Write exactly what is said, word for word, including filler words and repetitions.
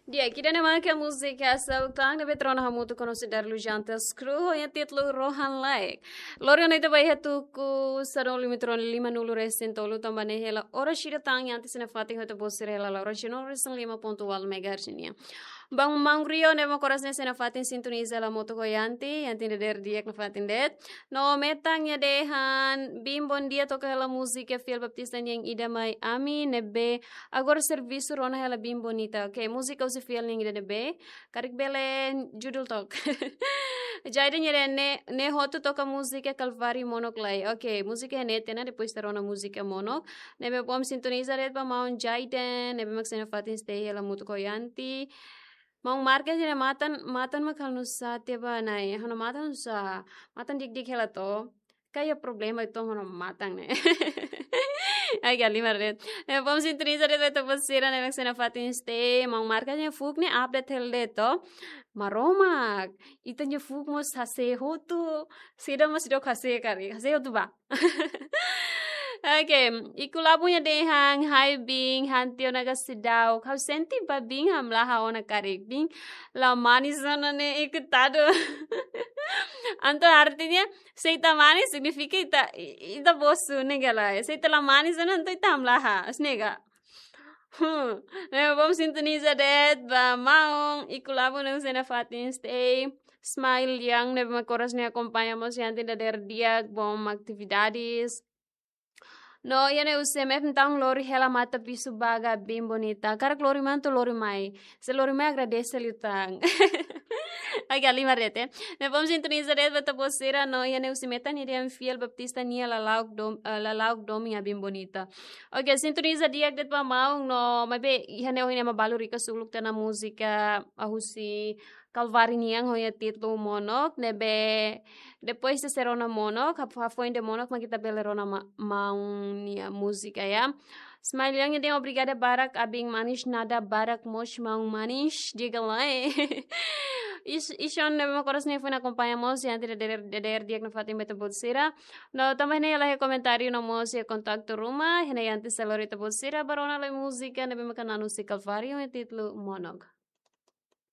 Di'ak, ida-ne'e mak múzika Seluk Tan ne'ebé rona hamutuk ho Darlu Jantas Crew, ho títulu Rohan Laek. Lori ona ita ba iha tuku sanulu-resin-tolu, limanulu-resin-tolu, tanba ne'e hela oras ida tan Yanti sira-nia fatin ho ita-boot sira hela oras sanulu-resin-lima pontu ualu megahertz nian. Ba maun Rio ne'ebé mak oras ne'e sira-nia fatin sintoniza hamutuk ho Yanti, Yanti dadeer di'ak nafatin de'it. No metan nia dehan, Bin, bondia, toka hela múzika Fiel Baptista nian, Ida Mai Ami, ne'ebé agora servisu rona hela Bin Bonita. Ok, múzika husi Fiel nian ida-ne'ebé? Karik bele judul took. Jaiden nia dehan ne'e, ne'e hotu toka múzika Kalvari Monok lai. Ok, múzika ne'e tiha ona, depois ita rona múzika Monok. Ne'ebé bom sintoniza de'it ba maun Jaiden, ne'ebé mak sira-nia fatin stay hela hamutuk ho Yanti. Maun Marcos nia matan, matan mak halo nusá tiha ba Nai. Ha'u-nia matan nusá, matan di'ak-di'ak hela to. Kayak problema itu ha'u-nia matan ne'e. Ai, galimar de'it. Ne'e bom sintoniza de'it ba ita-boot sira ne'ebé mak sira-nia fatin stay. Maun Marcos nia fuuk ne'e update hela de'it to. Maromak, ita-nia fuuk mós hase'e hotu. Sira mós seidauk hase'e karik. Hase'e hotu ba. Ok, Iku Labu nia dehan, hai Bin, han tiha ona ka seidauk? Ha'u sente ba Bin hamlaha ona karik. Bin la manis ona ne'e, ikutadu. Entaun artinya, se ita manis signifika ita, i-, ita bosu, ne'e ka lae. Se ita la manis ona, entaun ita hamlaha, ne'e ka. Hmm. Ne'e bom sintoniza de'it ba maun Iku Labu ne'ebé mak sira-nia fatin stay. Smile Yang ne'ebé mak oras ne'e akompaña mós Yanti dadeer di'ak, bom atividades. No iha ne'e husi M F entaun lori hela mata bisu ba Bin Bonita. Karik lori mai entaun lori mai. Se lori mai agradese liután. Ai, galimar de'it. Ne'e bom sintoniza de'it ba ita-boot sira no iha ne'e husi metan nia dehan Fiel Baptista nia lala'ok dom-, eh, lala'ok domin iha Bin Bonita. Ok, sintoniza di'ak de'it ba maun no maibé iha ne'e ohin ema balu rika suluk tiha ona múzika, ah, husi Kalvari nian ho nia títulu Monok, ne'ebé depois ita sei rona Monok, hap-, hafoin de'it Monok mak ita bele rona ma-, maun nia múzika ya. Smile Yang nia dehan obrigada barak, Abin manis, nada barak mós maun manis, diga lae. Is-, Ison ne'ebé mak oras ne'e foin akompaña mós Yanti dadeer, dadeer di'ak nafatin ba ita-boot sira. No tanba ne'e la iha komentáriu no mós iha kontaktu ruma, iha ne'e Yanti sei lori ita-boot sira ba rona lai múzika ne'ebé mak na'an husi Kalvari ho títulu Monok.